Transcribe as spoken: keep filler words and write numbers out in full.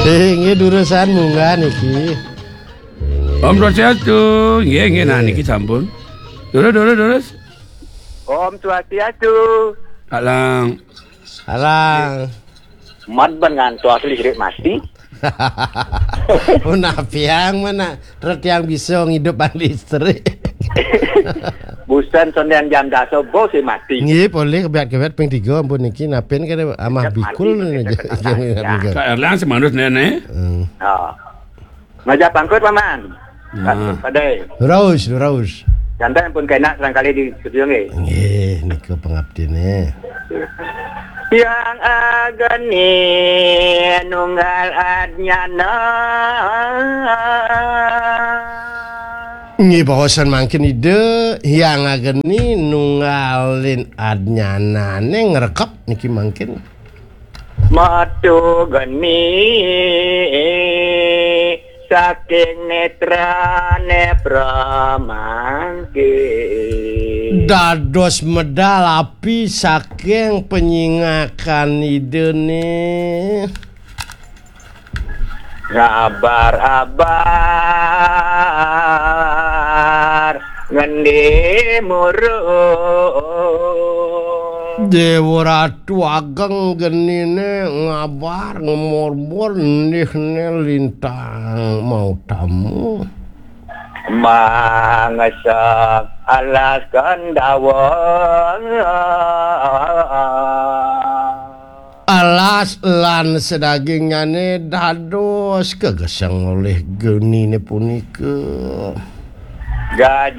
Eh, nggih, durusang munggah niki. Om Swastiastu. Nggih, nggih, nah niki sampun. Durus, durus, durus. Om Swastiastu. Alang. Alang. Mat ban ngantos listrik mati. Menapiang mana? Terus yang bisa ngidup listrik. Busan sondean jam dasa bos si mati. Nggih, polih kebiat-kebiat ping tiga ampun niki napin kada amah bikul mati, niki. Kak Erlang semanus nenek. Hmm. Oh. Maja pangkut, Paman. Nah. Padai. Raus, raus. Jantan pun kena serangkali di studio nggih. Nggih, niku pengabdine. Yang ageni nunggal adnyana. Nggih, baosan mangkin Ida, yang ageni nunggalin adnyanane ngrekep niki mangkin. Metu geni saking netrane pramangkin. Dados medal api saking penyingakan Idene. Ngabar-abar ngendi muruk. Dewa Ratu Ageng genine ngabar ngemorbor nihne lintang mau tamu. Mangesek alas Kendawa. Alas lan sedagingnyane dados kegeseng olih genine punika. Gajah